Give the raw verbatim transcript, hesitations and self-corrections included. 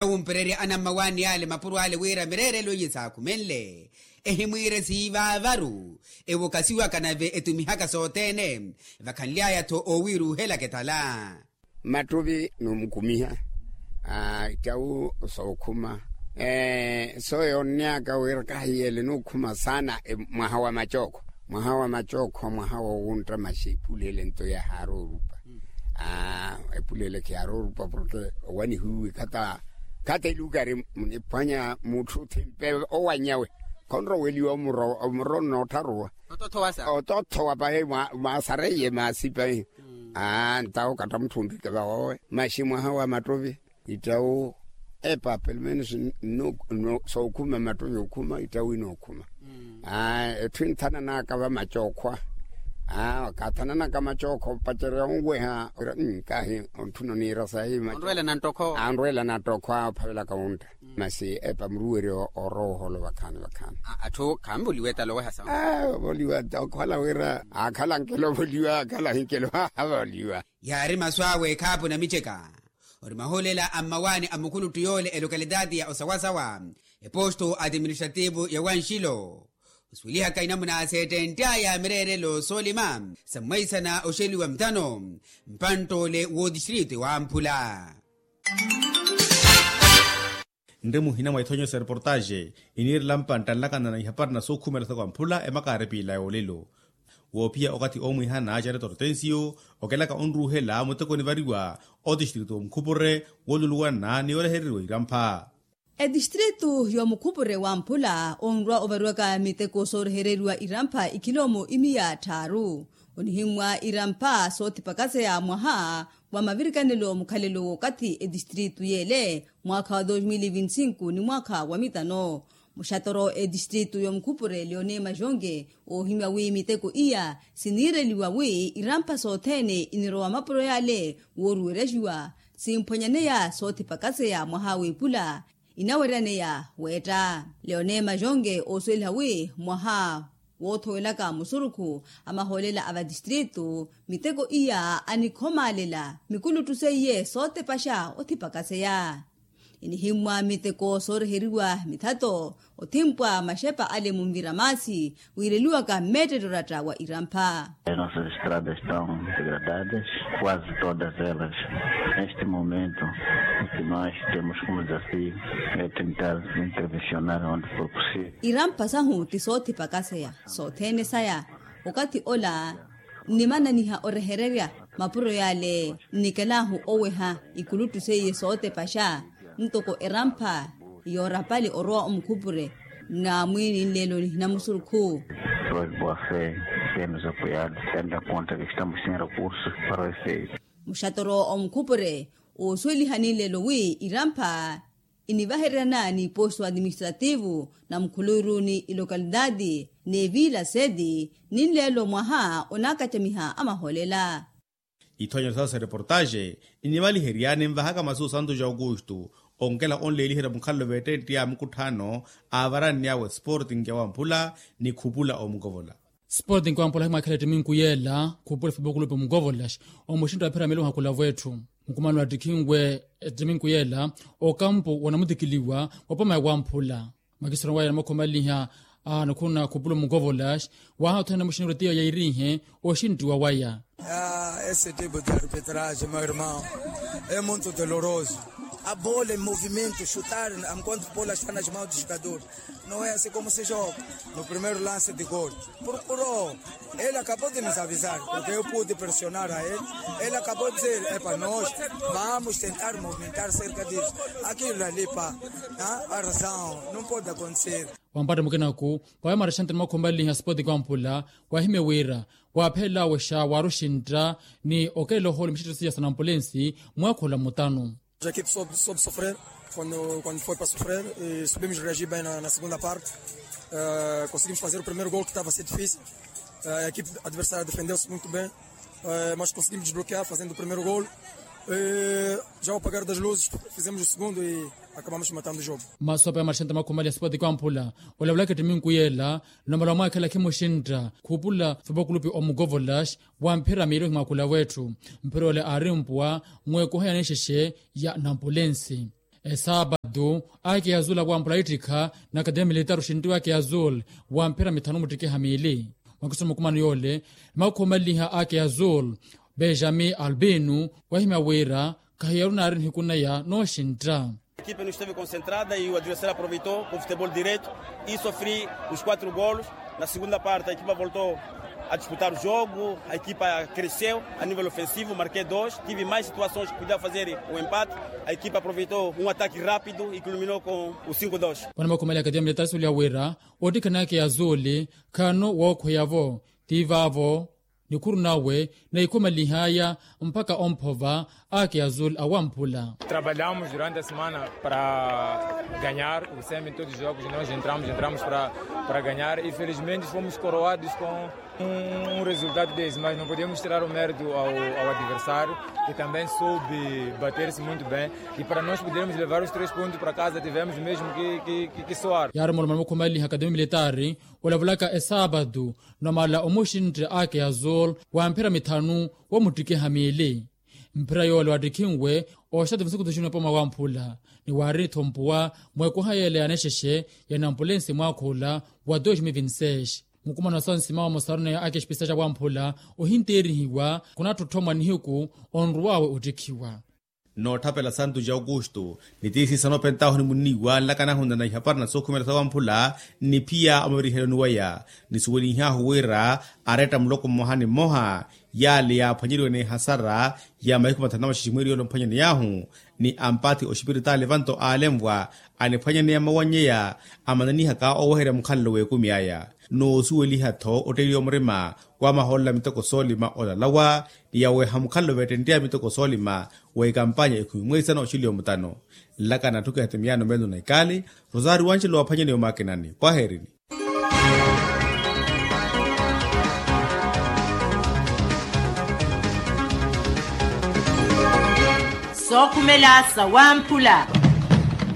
Wumpererya anammawaani ale mapuro ale wira mireerelo iye saakhumenle ehimwiire siivaavaru. Ewokasiwaka nave etumihaka sothene vakhanly'aya-tho owiiruuhelaka etala. Mattuvi numukhumiha ittawu sookhuma. Sooyonnyaka wira kahiyele nukhuma saana mwaha wa macookho. Mwaha wa macookho mwaha wowuntta maxi epulele nto yahaari orupa. Epulele khiyaari orupa porke owanihiwe khata khata elukari muniphwanya mutthu thimpe owanyawe khonroweliwa omuro onnoottharuwa. Otothowa pahi mwasareiye maasipa. Ntawo katta mutthu ontthike vawowe maxi mwaha wa mattovi. Ittawu epa pelomenos sookhuma mattovi okhuma ittawu inookhuma. Etthu inthananaka vamacookhwa. Kathananaka macookhwa opacerya onweha. Kahi ontthuna oniira sahi. Anrwela nanttokhwa ophavelaka wuntta. Masi epa muruweryo orowa oholo vakhaani vakhaani. Atthu khanvoliwa etala oweha sawa. Ovoliwa okhala wira akhala nkelo ovoliwa akhala hinkelo avoliwa. Yaari masu awe ekhaapu namiceka. Ori mahoolela a mmawaani a mukhuluttu yoole elokalitaati ya osawasawa eposto administrativo ya wanxilo. Osuwelihaka inamuna seettentt'aya mireerelo soolima sa mwaisana oxeliwa mthano mpanttoole wootistrito ewamphula. Nri muhina mwa ithonyo sa reportaxe iniirela mpantta nlakana na ihapari na sookhumela saka wamphula emakaari piila yoolelo. Woophiya okathi oomwihana jareto rotensiyo okelaka onruuhela muteko onivariwa otistritu omukhupure wooluluwana ni orehereriwa irampha. Etistritu yomukhupure wamphula onrwa ovariwaka miteko soorehereriwa irampha ikhilomo imiya tthaaru. Onihimmwa irampha soothipakaseya mwaha wa mavirikanelo mukhalelo w'okathi etistritu yeele mwaakha wa dos mil vinti sinku ni mwaakha wa mitano. Muxatoro etistritu yomukhupure leone majonge oohimya wi miteko iya siniireliwa wi irampha sothene inirowa mapuro yale wooruweryaxiwa simphwanyaneya soothipakaseya mwaha w'epula inaweryaneya weetta. Leone majonge oosuweliha wi mwaha woothowelaka musurukhu a mahoolela a vatistritu miteko iya anikhomaalela mikuluttu seiye sootepaxa othipakaseya. Inihimmwa miteko sooreheriwa mithato othimpwa maxepa ale munvira maasi wiireliwaka mmeettetta oratta wa irampha. As nossas estradas estão degradadas, quase todas elas. Neste momento o que nós temos como desafio é tentar intervencionar onde for possível. Irampha sahu ti soothipakaseya sothene saya. Okathi ola nnimananiha orehererya mapuro yale nnikelahu oweha ikuluttu seiye sootepaxa ntoko erampha yoorapali orowa omukhupure. Namwiini nleelo nihina musurukhu. Foi boa fé temos apoiado tendo em conta que estamos sem recursos para o efeito. Muxatoro omukhupure oosuweliha ni nleelo wi irampha inivahereryana ni posto administrativo na mukhuluuru ni ilokalitaati n'eviila seti ni nleelo mwaha onaakacamiha amahoolela. Ithonya sa sa reportaxe inivaliherya ninvahaka masu santo ja aukustu onkela onleeliherya mukhalelo veettetti a mukutthaano aavaranny'awe sporting ya wamphula ni khupula omukovola. Sporting ya wamphula himwaakhela ettiminku yeela khupula fupokulupi omukovola omuxintta wa phiramili ohakulavwa etthu mukumano attikhinwe ettiminku yeela okampu wanamutikiliwa wapoma ya wamphula. Makisiro waya namakhumanliha anakhuna khupula omukovola. Waha othene muxinirwe tiya yairihe oxinttiwa waya. Esse tipo de arbitragem meu irmão é muito doloroso. A bola em movimento chutar enquanto a bola está nas mãos do jogador não é assim como se joga. No primeiro lance de gol procurou. Ele acabou de nos avisar porque eu pude pressionar a ele. Ele acabou de dizer é para nós vamos tentar movimentar cerca disso. Aquilo ali pá, a razão não pode acontecer. Wampatta mukinaku waya marexanti ni makhumanliha sipoti kampula wahimye wira waaphelela awexa waaruxintta ni okelela ohoolo mixittiso ya sanampulensi mwaakhola mutanu. Equipe sobe sofrer quando foi para sofrer. Subimos reagir bem na segunda parte. Conseguimos fazer o primeiro gol que estava a ser difícil. A equipe adversária defendeu-se muito bem. Mas conseguimos desbloquear fazendo o primeiro gol. Já ao apagar das luzes fizemos o segundo e acabamos matando o jogo. Masu apa ya marexanti makhumanliha sipoti kampula olavulaka ettiminku yeela nlomalowa mwaakhela khimuxintta khupula fupokulupi omukovolas wa mphira miili ohimwaakula wetthu. Mphira ole aari mpuwa mweekuha ya nixexe ya nampulensi. Esaapatu, ake azul awampula ittikha na akademia militaru oxintiwa ake azul wa mphira mithanu muttikiha miili. Mwakiso mukumano yoole, makhumaleliha ake azul benjamin albino wahimya wira, khahiyaru naari nihiku naya nooxintta. Ekipa no esteve konsentrada e o adversário aproveitou com futebol direto e sofri os quatro golos. Na segunda parte a ekipa voltou a disputar o jogo, a ekipa cresceu a nível ofensivo, marquei dois, tive mais situações que podia fazer o empate. A ekipa aproveitou um ataque rápido e culminou com o cinco dois. Vano makhumaleliha akademia militaru suliya wira ottikhana ake azul khano wookhweya-vo, ti vaavo nikhuru nawe naikhomalihaya mpakha omphova ake azul awamphula. Trabalhamos durante a semana para ganhar o semi todos os jogos nós entramos entramos para para ganhar e felizmente fomos coroados com um resultado desse mas não podemos tirar o mérito ao adversário que também soube bater-se muito bem e para nós podermos levar os três pontos para casa tivemos mesmo que que que soar. Yaari omulomani mukhomaleliha akademia militaru olavulaka esaapatu namala omuxintta ake azul wa mphira mithanu womuttikiha miili. Mphira yoole wattikhinwe oxati masuku tuxini opoma wamphula ni waari nithompuwa mwekoha yeela ya nexexe ya nampulensi mwaakha ola wa dois mil vinti seis. Mukumano wa sansima wa musaruneya ake exipisa xa wamphula ohinteerihiwa khunattotthommwa nihiku onruwawe ottikhiwa. Nootthapela santu ja aukustu ni tiisiisa noopentaahu ni munniiwa nlakanahu nna na ihapari na sookhumela sa wamphula nni phiya omaviriheloni waya nisuwelihahu wira aretta muloko mmoha ni mmoha yaale yaaphwanyeriwe n'ehasara ya mahiku mathanu na maxexe mwiiri yoole omphwanyaney'ahu ni ampathi oxipiritaali evanto aalenvwa aniphwanyaneya mawannyeya amananihaka oweherya mukhalelo w'ekumi aya. Noosuweliha-tho otteeliwa murima wamahoolela miteko soolima olalawa ni yaweha mukhalelo veettentt'aya miteko soolima wa ekampanya ekhumi mweisano oxiliyo mutano. Nlakana atthu kehetemiyano meelo na ikaali rosaari wanxelo waaphwanyaneya omwakinani pwaheerini. Sookhumela sawamphula.